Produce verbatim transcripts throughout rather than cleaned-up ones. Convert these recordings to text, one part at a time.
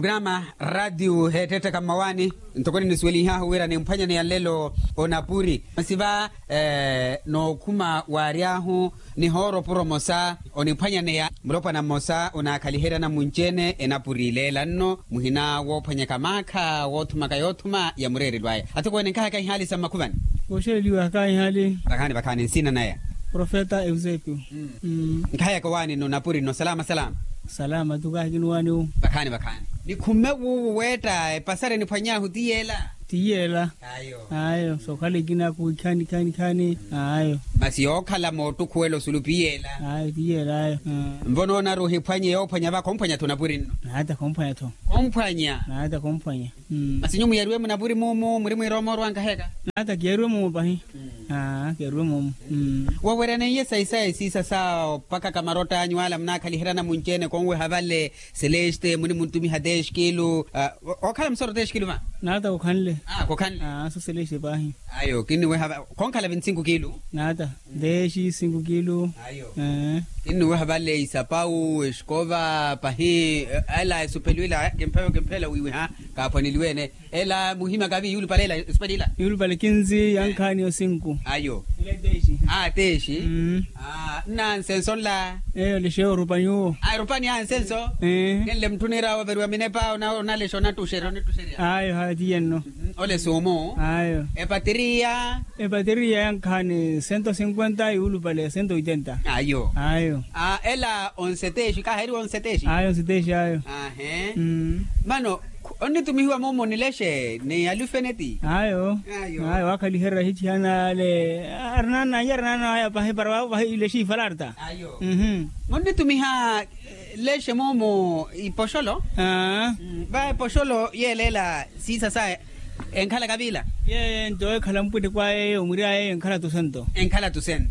Programa ratio heettettaka mmawaani. Ntoko ninisuwelihahu wira nimphwanyaneya nlelo onapuri masi va, nookhuma waary'ahu nihoora opuro mmosa oniphwanyaneya mulopwana mmosa onaakhaliheryana munci-ene enapuri ileela nno muhina woophwanyaka maakha woothumaka yoothuma ya mureerelo aya. Athokweene nkahaka ihaali sa mmakhuvani. Kooxeliwa kahihali. Vakhaani vakhaani nsina naya profeta eusepio. Nkahayaka owaani nno napuri nno salama salama. Salama tu kahi kini waani wu. Vakhaani vakhaani. Nikhumme wuuwu weetta epasari eniphwany'ahu ti yeela. Ti yeela. Ayo. Ayo sookhala ekina kuwikhani khani khani. Ayo. Masi yookhala moottukhuwela osulupi yeela. Ayo ti yeela ayo. Nvo noonari ohiphwanye yoophwanya va khomphwanya-tho napuri nno. Naata khomphwanya-tho. Khomphwanya. Naata khomphwanya. Masi nyuwo muyariwe munapuri muumu muri mwirooma orwa nkaheka. Naata kiyariwe muumu pahi. Aa kiyariwe muumu. Waweryaneiye sayi saya esiisa sa opakaka marotta anyu ala munakhaliheryana munci-ene konweha vale. Seleste munimuntumiha teshi kilu. Okhala musoro teshi kilu va. Naata kokhanle. Aa kokhanle. Aa so seleste pahi. Ayo kinniweha va. Khonkhala vintsinku kilu. Naata. Deshi sinku kilu. Kinnuweha vale isapau esikova pahi. Ela esupelu ila kimpheyo kimpheela wiiwiha. Kaaphwaneliwe-ene ela muhima kavi yuulupale ela esupelu ila. Yuulupale kinzi yankhaani yo sinku. Ayo. Aa teshi. Nnansenso nla. Eyo lexeyo orupani uwo. Aa erupani ansenso. Kenle mutthu niira waveriwa minepa onalexa onattuxerya onittuxerya. Ayo haya tiye nno. Ole suumu. Ayo. Epateriya. Epateriya yankhaani sento sinkwenta yuulupale sento oitenta. Ayo. Ayo. Ela onse teexi kaaheriwa onse teexi. Ayo onse teexi ayo. Ahe. Mano onnitumihiwa mumu nilexe ni alufeneti. Ayo. Ayo waakhaliherya hichihana ale. Arinana aya arinana aya pahi para vavo pahi ilexe ifalarta. Ayo. Munnitumiha lexe mumu ipoxolo. Va epoxolo yeeleela siisa saya. Enkhala kavila. Yeeyo nto ekhala mpweteko ayeyo omwiri ayeyo enkhala tusento. Enkhala tusento.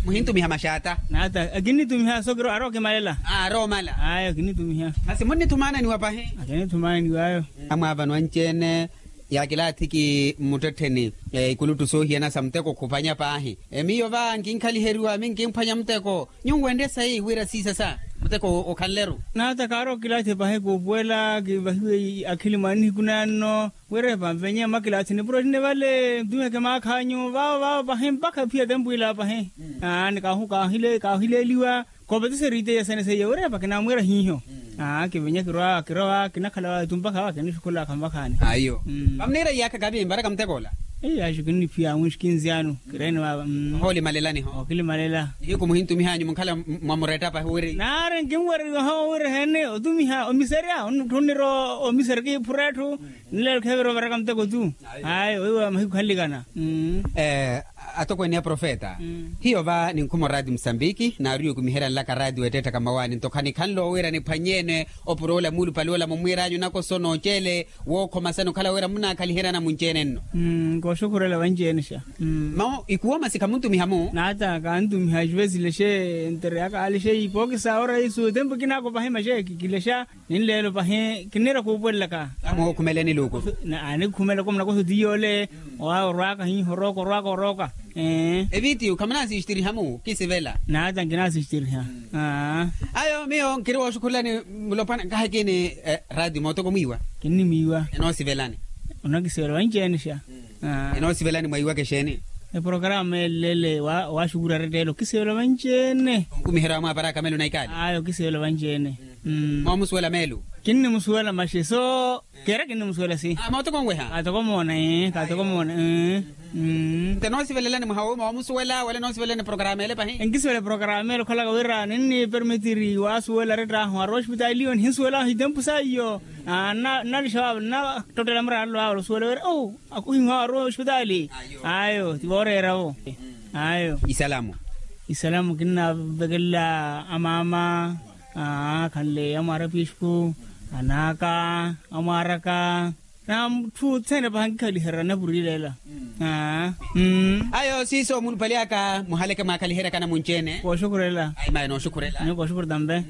Muhintumiha maxata. Naata akinnitumiha so kiro arokimalela. Aromala. Ayo kinnitumiha. Masi munnithumananiwa pahi. Akinnithumananiwa ayo. Amwaavano anci-ene. Yaakilaathiki mmuttettheni. Ikuluttu soohiyana sa muteko khuphwanya paahi. Miyo va nkinkhaliheryiwa minkimphwanya muteko. Nyuwo wenrye sayi wira siisa sa muteko okhanleru. Naata kaari okilaathi pahi kuupuwela kivahiwe akhili mwa nihiku nanno. Wira epanvenye mwa kilaathi nipuro ninivale ntumiheke maakha anyu vavo vavo pahi mpakha ephiya tempu ila pahi. Aani kaahileeliwa. Koopetisa eriteya sene seiye wira epa kinamwiira hiiho. Kivenye kirowa kirowa kinakhala vatu mpakha va kinixukhulaka mpakhaani. Ayo. Vamuniira iyaakha kavi mparaka muteko ola. Eyo axi kinniphiya mwixi kinzi anu. Kireeni vava. Ohoolimalelaniho. Okilimalela. Nihiku muhintumihanyu munkhala mwa muretta pahi wiri. Naari nkinwereriwaho wira eheene otumiha omiserya onitthunira omiserya kiiphura etthu. Nleelo kheevira ovaraka muteko tu. Ayo weiwa mahiku khanlikana. Atokweene ya profeta. Hiyo va ninkhuma oraati musambiki naari okumiherya nlaka raati weettettaka mmawaani nto khanikhanle owiira niphwanye-ene. Opuro ola muulupale ola mumwiiranyu nakoso nooceele. Wookhomasani okhala wira munaakhaliheryana munci-ene nno. Kooxukhurela vanci-ene xa. Mawo ikuwo masi khamuntumiha mu. Naata kantumiha exuve silexe entereyaka alexe ipookisa ora isu tempu kinaako pahi maxe kilexa. Ninleelo pahi kinniira kuupuwelelaka. Amuhookhumeleni luuku. Anikhumelaka munakoso ti yoole. Owa orwaka hiiho orooka orwaka orooka. Evitiyu khamunaasixtiriha mu kisivela. Naata nkinaasixtiriha. Ayo miyo nkiri wooxukhulelani. Mulopwana nkahi kini. Raati mootoko mwiiwa. Kinnimwiiwa. Enoosivelani. Onakisivela vanci-ene xa. Enoosivelani mwaiwaka exeeni. Eporokaramu elele waaxukurya aretteelo kisivela vanci-ene. Onkumiherya wamwaaparaka meelo na ikaali. Ayo kisivela vanci-ene. Moomusuwela meelo. Kinnimusuwela maxi so. Keera kinnimusuwela si. Mootoko nweha. Kaatoko moona. Kaatoko moona. Nte noosivelelani mwaha woomusuwela wala noosivelelani porokaramu ele pahi. Enkisivela porokaramu ele okhalaka wira ninnipermitiri waasuwela arettihu arowa oxipitaali iyo nihinsuwelaho itempu saiyo. Nnalixa waavo nnatottela muraarelo waavo osuwela wira o akuhihiwa arowa oxipitaali. Ayo ti vooreeravo. Ayo. Isalamu. Isalamu kinnaavekelela amaama. Khanle amwaara pisku anaaka amwaaraka. Na mutthu othene paha nkikhaliherya napurileela. Ayo siiso muulupale aka muhaleke mwaakhaliheryakana munci-ene. Kooxukhurela. Ayi mayi nooxukhurela. Kooxukhurela tampe.